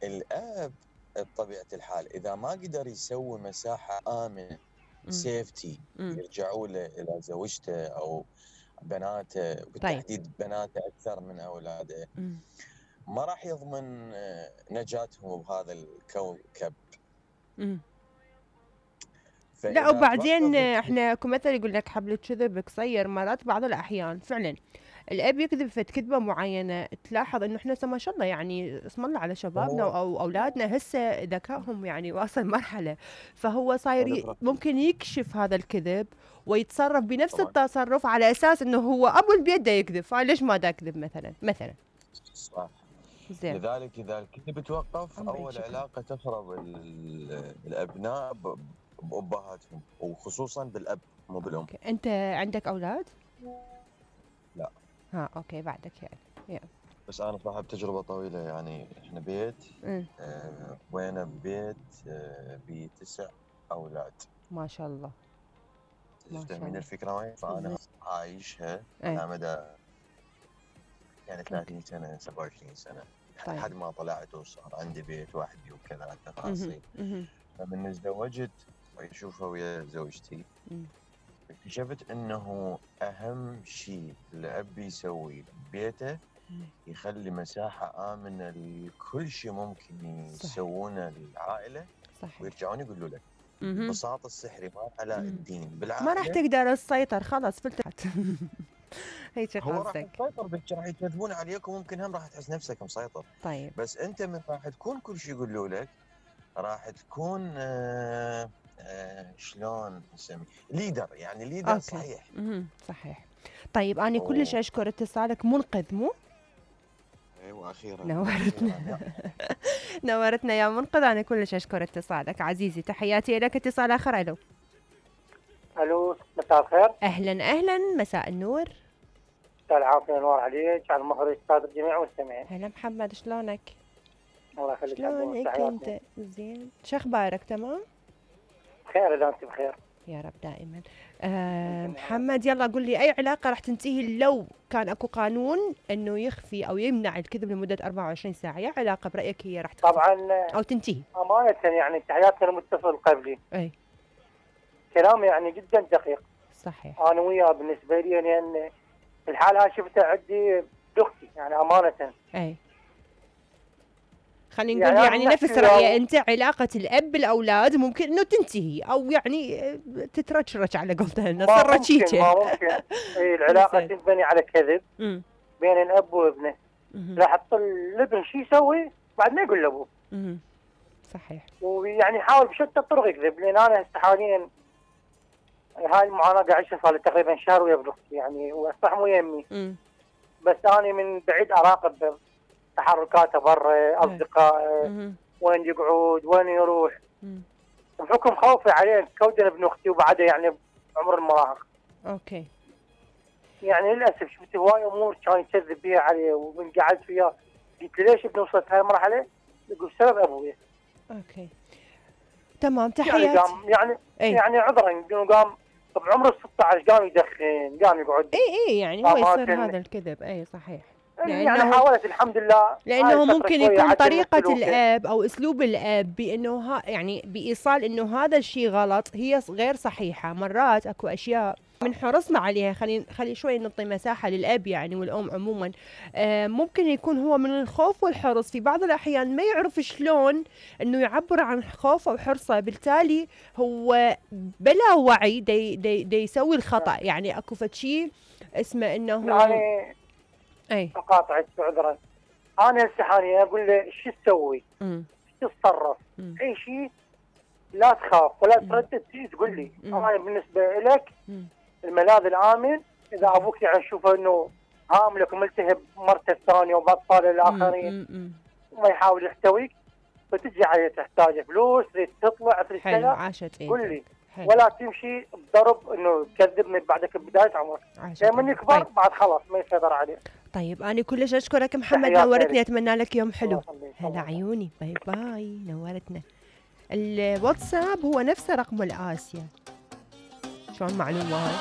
الاب بطبيعه الحال اذا ما قدر يسوي مساحه امنه سيفتي يرجعوا له الى زوجته او بناته، طيب. بالتحديد بناته اكثر من اولاده، ما راح يضمن نجاتهم بهذا الكوكب. لا وبعدين احنا اكو مثل يقول لك حبل كذب قصير، مرات بعض الاحيان فعلا الاب يكذب في كذبه معينه، تلاحظ انه احنا ما شاء الله يعني اسم الله على شبابنا او اولادنا هسه ذكائهم يعني واصل مرحله، فهو صاير ممكن يكشف هذا الكذب ويتصرف بنفس التصرف على اساس انه هو ابو البيت دا يكذب، فليش ما دا يكذب مثلا. صح. زين. لذلك اذا الكذب توقف اول علاقه تخرب الابناء بابهاتهم، وخصوصا بالاب مو بالام. انت عندك اولاد؟ لا. اوكي بعدك يعني. بس انا صاحب تجربه طويله، يعني احنا بيت وين ببيت ب9 اولاد. ما شاء الله. تفهمين الفكره وين؟ فانا عايشها على مدى يعني 30 سنه 27 سنه، يعني لحد ما طلعت وصار عندي بيت وحدي وكذا تفاصيل. فمن تزوجت واشوفها ويا زوجتي اكتشفت انه اهم شيء الاب يسوي ببيته يخلي مساحه امنه لكل شيء ممكن يسوونه للعائله. صحيح. ويرجعون يقولوا لك ببساطه السحر ما علاء الدين بالعائله، ما راح تقدر تسيطر خلاص فلتت. هيك هو راح تسيطر بك، راح يكذبون عليك وممكن هم راح تحس نفسك مسيطر. طيب. بس انت من راح تكون كل شيء يقولوا لك راح تكون شلون نسميه ليدر، يعني ليدر. أوكي. صحيح. صحيح. طيب انا كلش اشكر اتصالك منقذ مو؟ ايوه اخيرا نورتنا. نورتنا يا منقذ، انا كلش اشكر اتصالك عزيزي، تحياتي لك. اتصال اخر. الو مساء الخير. اهلا مساء النور. مساء العافيه، نور عليك، على المخرج استاذ الجميع والمستمعين. هلا محمد، شلونك؟ الله يخليك. شلونك انت؟ زين، شو اخبارك؟ تمام بخير اذا انت بخير يا رب دائما. محمد يلا قل لي، اي علاقه راح تنتهي لو كان اكو قانون انه يخفي او يمنع الكذب لمده 24 ساعه؟ يا علاقه برايك هي راح تخفي طبعا او تنتهي؟ امانه يعني تحياتنا للمتصل قبلي، اي كلام يعني جدا دقيق. صحيح. انا وياه بالنسبه لي لان الحاله هاي شفتها عندي باختي يعني امانه. اي خلينا نقول يعني نفس رأيي انت، علاقة الاب بالاولاد ممكن انه تنتهي او يعني تترشرش على قولتنا صار رشيكه. ما ممكن اي العلاقة تنبني على كذب بين الاب وابنه. راح تطل الابن شو يسوي بعد ما يقول لابوه. صحيح. ويعني يحاول بشتى الطرق يكذب، لان انا هسه حاليا هاي المعاناة قاعد اعيشها صار لي تقريبا شهر ويا ابن اختي، يعني وصح مو يمي. بس انا من بعيد اراقب تحركاته برا، اصدقائه، وين يقعد وين يروح، بحكم خوفي عليه كودن ابن اختي وبعده يعني عمر المراهقه. اوكي. يعني للاسف شفت هواي امور كان يكذب بيها عليه، ومن قعدت وياه قلت له ليش ابن وصلت هاي المرحله؟ يقول بسبب ابويا. اوكي تمام. تحياتي. يعني عذرا انه قام بعمر ال 16 قام يدخن، قام يقعد. اي يعني هو يصير هذا الكذب. اي صحيح. يعني حاولت الحمد لله، لانه ممكن يكون طريقه الاب او اسلوب الاب بانه يعني بايصال انه هذا الشيء غلط هي غير صحيحه. مرات اكو اشياء من حرصنا عليها، خلي شوي نعطي مساحه للاب يعني والام عموما. ممكن يكون هو من الخوف والحرص في بعض الاحيان ما يعرف شلون انه يعبر عن خوفه وحرصه، بالتالي هو بلا وعي دي يسوي الخطا. يعني اكو شيء اسمه انه يعني اقاطعك بعذرا، انا هسه حاليا اقول له شو تسوي؟ شو تتصرف؟ اي شيء لا تخاف ولا تردد، تجي تقول لي. انا بالنسبه لك الملاذ الامن اذا ابوك يعني تشوفه انه هاملك وملتهب مرته الثانيه وباطفاله الاخرين وما يحاول يحتويك، فتجي عليه تحتاج فلوس تريد تطلع تريد كذا، قول لي. ولا تمشي بضرب انه تكذبني بعدك ببدايه عمرك، لما يكبر بعد خلاص ما يسيطر عليه. طيب انا كلش اشكرك محمد، نورتني، اتمنى لك يوم حلو. هلا عيوني، باي باي، نورتنا. الواتساب هو نفسه رقم الآسيا. شلون معلومه هاي؟